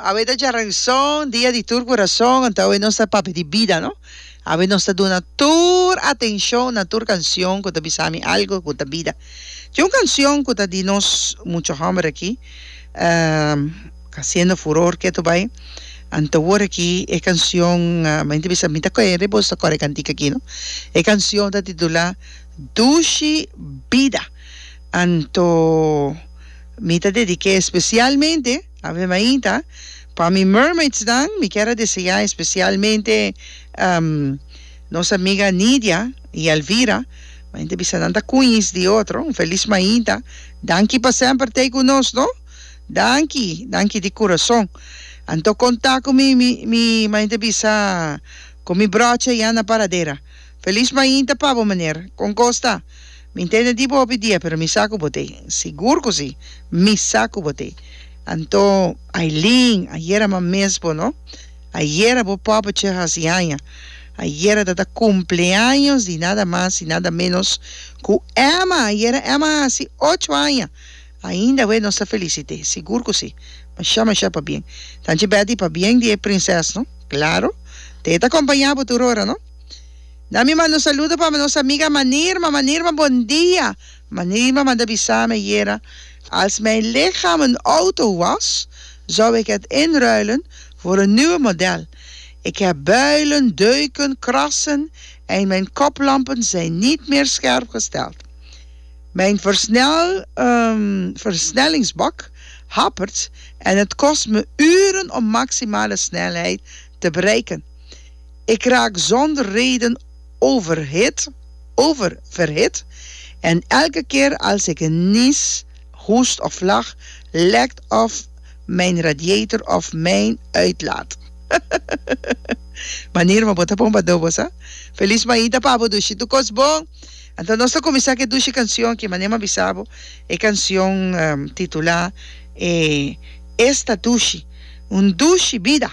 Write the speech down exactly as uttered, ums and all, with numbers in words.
Awe ta djaranson, dia di tur kurason, anto awe nos ta papia di bida, no? Awe nos ta duna tur atenshon na tur kanshon ku ta bisa mi algu ku ta bida. Tin un kanshon ku ta di nos mucha hòmber aki, hasiendo furor ketu bai, anto awor aki e kanshon, mi ta bisa mi ta kere boso ta kòrda e kantika aki, no? E kanshon ta titulá Dushi Bida. Anto mi ta dedik'é espesialmente, Ave Mainta, pa mi mermaidsnan, mi kier a deseá espesialmente nos amiga Nidia i Elvira, mi ta bisa nan ta cuñis di otro, un felis mainta, danki pa semper t'ei cu nos no, danki, danki di curason. Anto conta cu mi, mi, mi, mi ta bisa cu mi broche ya na paradera. Felis mainta pa bo meneer, con cos ta? Mi ntende di bo hopi dia pero mi sa ku bo t'ei. Sigur ku si, mi sa ku bo t'ei. Anto, Aileen, ayera ma mes bo, no? Ayera bo poppetje hasi aña. Ayera ta ta cumpleaños di nada mas y nada menos ku Emma. Ayera Emma a hasi ocho aña. Ainda we nos ta felicit'é. Sigur ku si. Masha masha pabien. Tanchi Betty, pabien di e prinses, no? Claro. Te ta acompaña bo tur ora, no? Na mi manda un saludo pa nos amiga Manirma. Manirma, bon dia. Manirma manda bisa mi ayera, Als mijn lichaam een auto was, zou ik het inruilen voor een nieuwe model. Ik heb builen, deuken, krassen en mijn koplampen zijn niet meer scherp gesteld. Mijn versnel, um, versnellingsbak hapert en het kost me uren om maximale snelheid te bereiken. Ik raak zonder reden overhit, oververhit en elke keer als ik nies, hoest of lach, lekt of mijn radiator of mijn uitlaat. Manera bo ta pompa dobo sa. Feliz mainta pa bo dushi tur kos bon. Anto nos ta kuminsá ku e dushi kanshon ki manera mi a bisa bo, e kanshon titulá e Esta Dushi, un dushi bida.